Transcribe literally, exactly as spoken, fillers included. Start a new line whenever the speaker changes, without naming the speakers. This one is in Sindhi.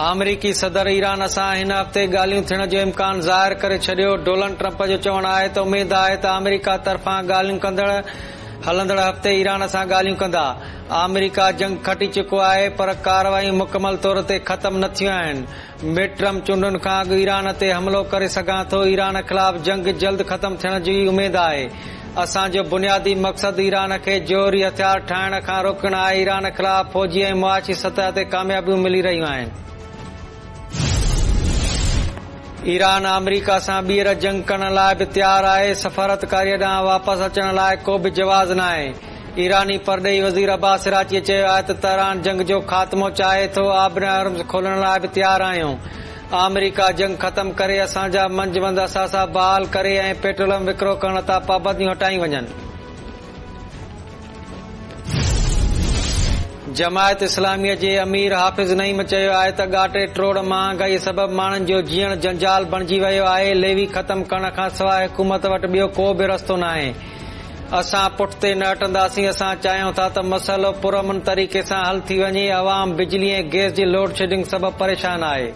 آمريڪي صدر ايران سان هن هفتي ڳالهيون ٿيڻ جو امڪان ظاهر ڪري ڇڏيو. ڊونلڊ ٽرمپ جو چوڻ آهي ته اميد آهي ته آمريڪا طرفان ڳالهيون ڪندڙ هلندڙ هفتي ايران سان ڳالهيون ڪندا. آمريڪا جنگ کٽي چڪو آهي پر ڪارروايون مڪمل طور تي ختم نه ٿيون آهن. مڊ ٽرم چونڊن کان اڳ ايران تي حملو ڪري سگهان ٿو. ايران خلاف جنگ جلد ختم ٿيڻ جي اميد آهي. اسان جو بنيادي مقصد ايران کي جوهري هٿيار ٺاهڻ کان روڪڻ آهي. ايران خلاف فوجي ۽ معاشي سطح تي ڪاميابيون ملي رهيون آهن. ايران آمريڪا سان ٻيهر جنگ ڪرڻ لاءِ به تيار آهي. سفارتڪاريءَ ڏانهن واپس اچڻ لاءِ ڪو به جواز ناهي. ايراني پرڏيهي وزير عباس عراقچيءَ چيو آهي ته تهران جنگ جو خاتمو چاهي ٿو، آبناءِ هرمز کولڻ لاءِ به تيار آهيون. آمريڪا جنگ ختم ڪري اسان جا منجمند اثاثا بحال ڪري ۽ پيٽروليم وڪرو ڪرڻ تان پابنديون هٽايون وڃن. جماعت اسلاميءَ جي امير حافظ نعيم چيو آهي ته ڳاٽي ٽوڙ مهانگائي سبب ماڻهن جو جيئڻ جنجال بڻجي ويو آهي. ليوي ختم ڪرڻ کان سواءِ حڪومت وٽ ٻيو ڪو به رستو ناهي. اسان پٺتي نه هٽنداسين. اسان چاهيون ٿا ته مسئلو پرامن طريقي سان حل ٿي وڃي. عوام بجلي ۽ گئس جي لوڊ شيڊنگ سبب پريشان آهي.